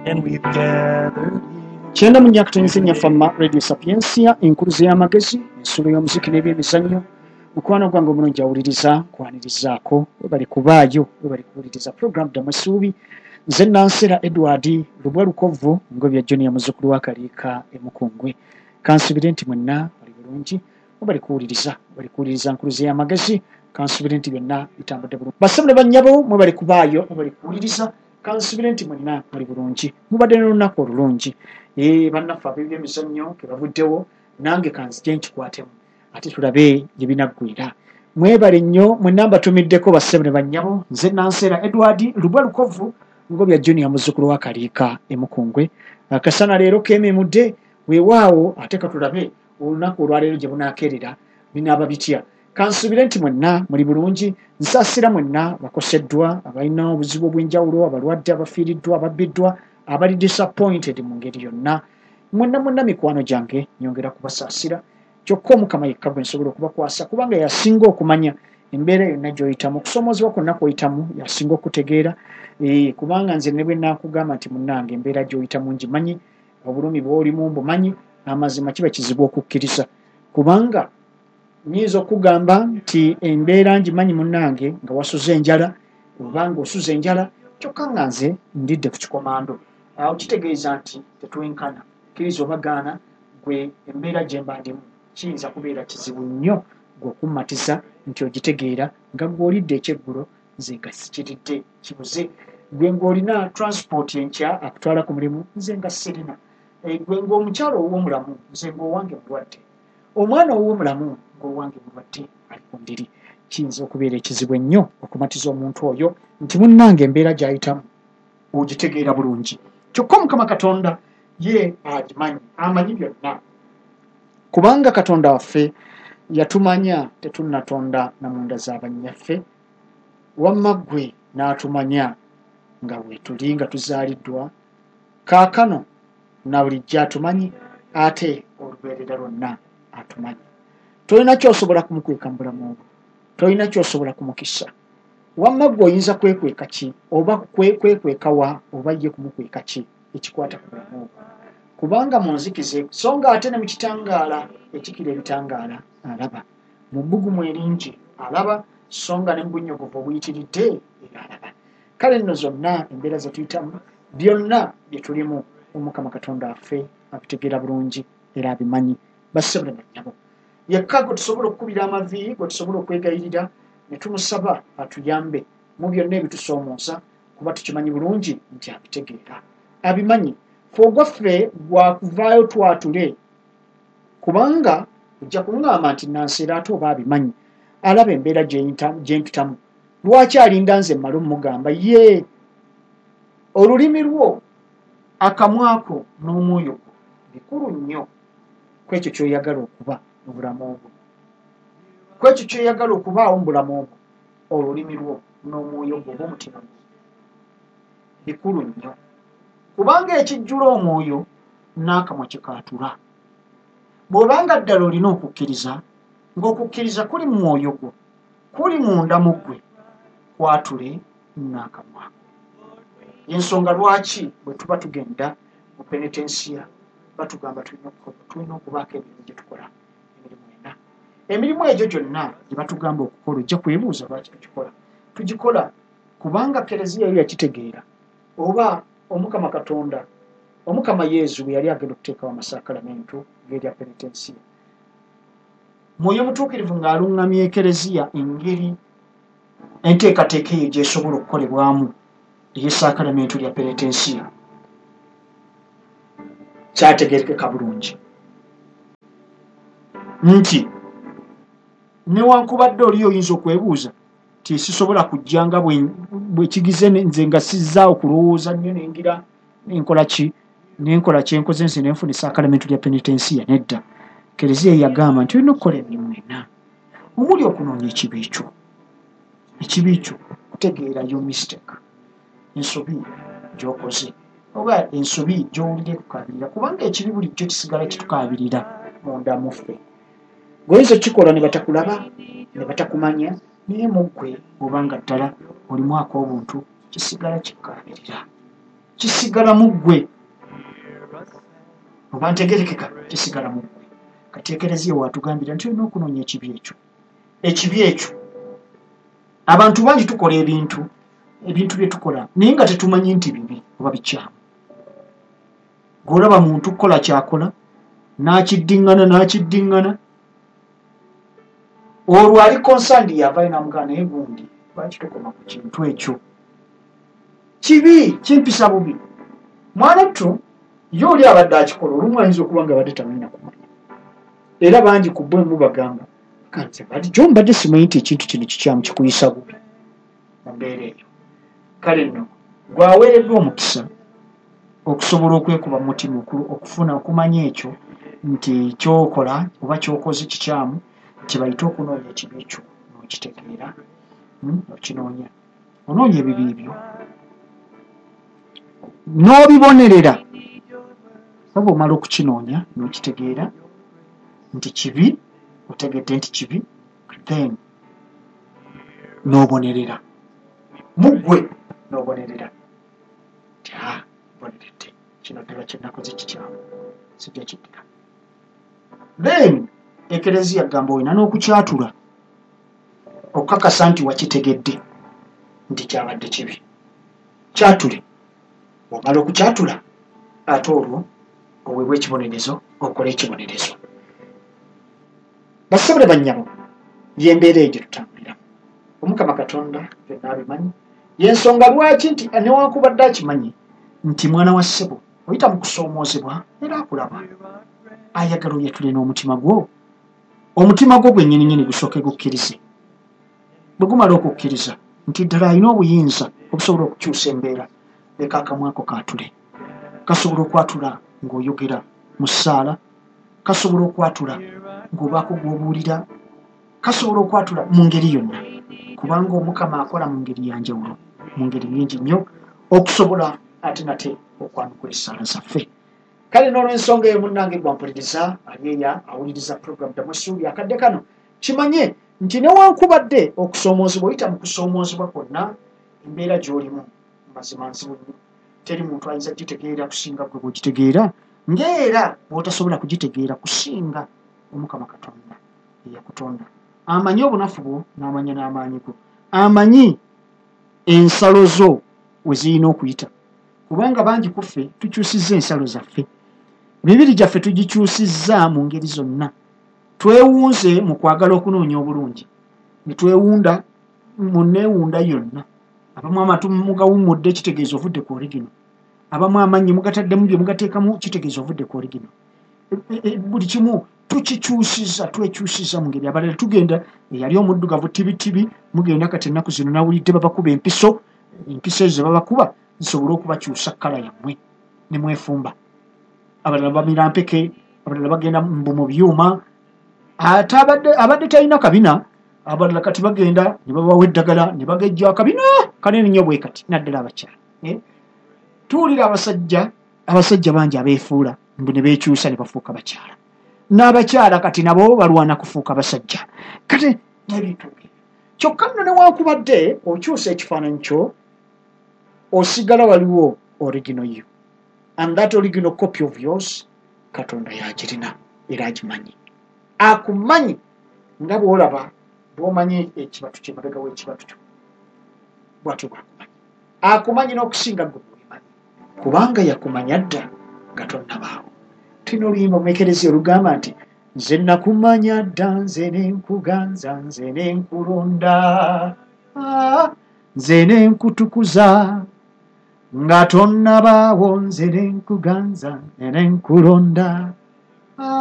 And we've gathered here. 94.4 Fama Radio Sapientia, enkuluze y'amagezi, ensulo y'omuziki n'ebyemizannyo. Mukwano gwange omulungi awuliriza, nkwanirizaako, webali kubaayo, webali kuwuliriza program Ddamu Essuubi. Nze Nansera Edward Lubwa Lukovu, Ngobya Junior, muzzukulu wa Kaliika e Mukungwe. Kansubire nti mwenna bali bulungi, webali kuwuliriza, webali kuwuliriza nkuluze y'amagezi. Kansubire nti byonna bitambudde bulungi. Bassebo ne bannyabo, mwebali kubaayo, mwebali kuwuliriza. Kansubire nti mwenna muli bulungi, mubadde n'olunaku olulungi. Bannaffe ab'ebyemizannyo ke bavuddewo, nange kanzije nkikwatemu ate tulabe gye binaggwera. Mwebale nnyo mwenna mbatumiddeko bassebo ne bannyabo. Nze Nansera Edward Lubwa Lukovu, Ngobya Junior, muzzukulu wa Kaliika e Mukungwe. Akasana leero keememudde, weewaawo ate katulabe olunaku olwaleero gye bunaakeerera binaaba bitya. Kansubire nti mwenna muli bulungi. Nsaasira mwenna bakoseddwa, abalina obuzibu obw'enjawulo, abalwadde, abafiiriddwa, ababbiddwa, abali disappointed mu ngeri yonna. Mwenna mwenna mikwano gyange nyongera kubasaasira. Kyokka Omukama yekka gwe nsobola okubakwasa, kubanga yasinga okumanya embeera yonna gy'oyitamu, okusoomoozebwa kwonna kw'oyitamu yasinga okutegeera. Kubanga nze ne bwe naakugamba nti munnange embeera gy'oyitamu ngimanyi, obulumi bw'olimu mbumanyi, amazima kiba kizibu okukkiriza. Kubanga nnyinza okugamba nti embeera ngimanyi munnange nga wasuze enjala, oba ng'osuze enjala, kyokka nga nze ndidde ku kikomando. Awo kitegeeza nti tetwenkana. Kkiriza oba gaana, gwe embeera gye mba ndimu kiyinza kubeera kizibu nnyo gwe okummatiza nti ogitegeera nga gwe olidde ekyeggulo, nze nga sikiridde, kibuze. Gwe ng'olina transport enkya akutwala ku mulimu, nze nga sirina. Gwe ng'omukyala ow'omulamu, nze ng'owange mulwadde. Omwana ow'omulamu ng'owange mulwadde ali ku ndiri. Kiyinza okubeera ekizibu ennyo okumatiza omuntu oyo nti munnange embeera gy'ayitamu ogitegeera bulungi. Kyokka Omukama Katonda ye agimanyi, amanyi byonna. Kubanga Katonda waffe yatumanya tetunnatonda na munda za bannyaffe, wamma ggwe n'atumanya nga weetuli nga tuzaaliddwa, kaakano na bulijjo atumanyi, ate olubeerera lwonna atumanyi. Tolina ky'osobola kumukweka mu bulamu bwo, tolina ky'osobola kumukisa. Wamma ggwe oyinza kwekweka ki, oba kwekweka wa, oba ye kumukweka ki ekikwata ku bulamu bwo? Kubanga mu nzikiza, so nga ate ne mu kitangaala ekikira ebitangaala alaba, mu bbugumu eringi alaba, so nga ne mu bunnyogovu obuyitiridde era alaba. Kale nno zonna embeera ze tuyitamu, byonna bye tulimu, Omukama Katonda waffe abitegeera bulungi era abimanyi. Bassebo ne bannyabo, yekka gwe tusobola okukubira amavi, gwe tusobola okwegayirira ne tumusaba atuyambe mu byonna ebitusoomooza, kuba tukimanyi bulungi nti abitegeera, abimanyi. Ffe ogwaffe gwakuvaayo twatule, kubanga ojja kuŋŋamba nti Nansera ate oba abimanyi, alaba embeera gye mpitamu, lwaki alinda nze mmale omugamba? Ye olulimi lwo, akamwako n'omwoyo gwo bikulu nnyo ku ekyo ky'oyagala okuba mu bulamu bwo, ku ekyo ky'oyagala okubaawo mu bulamu bwo. Olulimi lwo n'omwoyo gwo oba omutima gwo bikulu nnyo, kubanga ekijjula omwoyo n'akamwa kikaatula. Bw'obanga ddala olina okukkiriza, ng'okukkiriza kuli mu mwoyo gwo, kuli munda mu ggwe, kwatule n'akamwako. Ensonga lwaki bwe tuba tugenda mu penetensiya batugamba tulina okubaako emirimu gye tukola, emirimu ena. Emirimu egyo gyonna gye batugamba okukola, ojja kwebuuza lwaki tugikola. Tugikola kubanga Kereziya yo yakitegeera, oba Omukama Katonda, Omukama Yezu bwe yali agenda okuteekawo amasakalamentu g'erya penetensiya, Mwoyo Mutuukirivu ng'aluŋŋamya Ekereziya engeri enteekateeka eyo gy'esobola okukolebwamu ey'essakalamentu lya penetensiya, kyategeerekeka bulungi nti newankubadde oli oyinza okwebuuza nti sisobola kujja nga bwe kigize nze nga sizzaawo kulowooza nnyo nengira nenkola ki, nenkola kyenkoze nze nenfuna essakalamentu lya penetensiya. Nedda, Kereziya yagamba nti olina okukola emirimu ena omuli okunoonya ekibi kyo, ekibi kyo kutegeera your mistake, ensobi gy'okoze oba ensobi gy'owulira ekukaabirira, kubanga ekibi bulijjo kisigala kitukaabirira munda mu ffe. Gweoyinza okukikola ne batakulaba, ne batakumanya, naye mu ggwe obanga ddala olimu ak'obuntu kisigala kikukaabirira. Kisigala mu ggwe. Oba ntegerekeka, kisigala mu ggwe. Kati Ekereziya waatugambira nti olina okunoonya ekibi ekyo. Ekibi ekyo. Abantu bangi tukola ebintu, ebintu bye tukola naye nga tetumanyi nti bibi oba bikyamu. Gw'olaba muntu kukola ky'akola, n'akiddiŋŋana, n'akiddiŋŋana. Olwo ali concerned yavaayo n'amugamba, naye gundi lwaki tokoma ku kintu ekyo? Kibi, kimpisa bubi. Mwana ttu, ye oli abadde akikola, olumu ayinza okuba nga abadde tamanyi na kumanya. Era bangi ku bo mubagamba, kanze bulijjo mbadde simanyi nti ekintu kino kikyamu, kikuyisa bubi mu mbeera eyo. Kale nno gw'aweereddwa omukisa okusobola okwekuba mu mutima okufuna okumanya ekyo nti ky'okola oba ky'okoze kikyamu, kye bayita okunoonya ekibi ekyo n'okitegeera, okinoonya. Onoonya ebibi byo n'obibonerera. Oba omala okukinoonya n'okitegeera nti kibi, otegedde nti kibi, then n'obonerera. Mu ggwe n'obonerera. Nti, mboneredde, kino ddala kye nakoze kikyamu, sijja kiddira. Then Ekereziya gamba olina n'okukyatula okukakasa nti wakitegedde nti kyabadde kibi. Kyatule. Bw'omala okukyatula, ate olwo oweebwa ekibonerezo, okole ekibonerezo. Bassebo ne bannyabo, y'embeera eyo gye tutambuliramu. Omukama Katonda byonna abimanyi. Y'ensonga lwaki nti newankubadde akimanyi nti mwana wa ssebo oyita mu kusoomoozebwa era akulaba. Ayagala oyatule n'omutima gwo. Omutima gwo gwennyininyini gusooke gukkirize. Bwe gumala okukkiriza nti ddala alina obuyinza obusobola okukyusa embeera, leka akamwa ko kaatule. Kasobola okwatula ng'oyogera mu ssaala, kasobola okwatula ng'obaako gw'obuulira, kasobola okwatula mu ngeri yonna, kubanga Omukama akola mu ngeri ya njawulo, mu ngeri nnyingi nnyo, okusobola ate nate okwanukula essaala zaffe. Kale n'olw'ensonga eyo munnange gwampuliriza ali eya awuliriza program Ddamu Essuubi akadde kano, kimanye nti newankubadde okusoomoozebwa, oyita mu kusoomoozebwa kwonna, embeera gy'olimu mazima nzibu nnyo, teri muntu ayinza kugitegeera kusinga ggwe bw'ogitegeera, ng'era bw'otasobola kugitegeera kusinga Omukama Katonda eyakutonda. Amanyi obunafu bwo n'amanya n'amaanyi go, amanyi ensalo zo we zirina okuyita, kubanga bangi ku ffe tukyusizza ensalo zaffe, emibiri gyaffe tugikyusizza mu ngeri zonna. Twewunze mu kwagala okunoonya obulungi, ne twewunda mu neewunda yonna. Abamu amatu mugawummudde, kitegeeza ovudde ku origino. Abamu amannyo mugataddemu bye mugateekamu, kitegeeza ovudde ku origino. Buli kimu tukikyusizza, twekyusizza mu ngeri. Abalala tugenda, eyali omuddugavu tibitibi, mugenda kati ennaku zino nawulidde babakuba empiso, empiso ezo ze babakuba zisobole okubakyusa kkala yammwe ne mwefumba. Abalala bamira mpeke, abalala bagenda mbu mu byuma, ate abadde talina kabina, abalala kati bagenda ne babawa eddagala ne bagejja akabina kanene nnyo bwe kati, naddala abakyala. Tuwulira abasajja bangi abeefuula mbu ne beekyusa ne bafuuka bakyala, n'abakyala kati nabo balwana kufuuka basajja. Kati n'ebintu ebyo. Kyokka nno newankubadde okyusa ekifaananyi kyo, osigala waliwo original you, and that original copy of yours Katonda y'agirina era agimanyi. Akumanyi nga bw'olaba, bw'omanyi ekibatu kye mabega w'ekibatu kyo, bw'atyo bw'akumanyi. Akumanyi n'okusinga ggwe bw'obimanyi, kubanga yakumanya dda nga tonnabaawo. Tulina oluyimba mu Ekereziya olugamba nti nze nakumanya dda, nze ne nkuganza, nze ne nkulonda, nze ne nkutukuza nga tonnabaawo, nze ne nkuganza, nze ne nkulonda.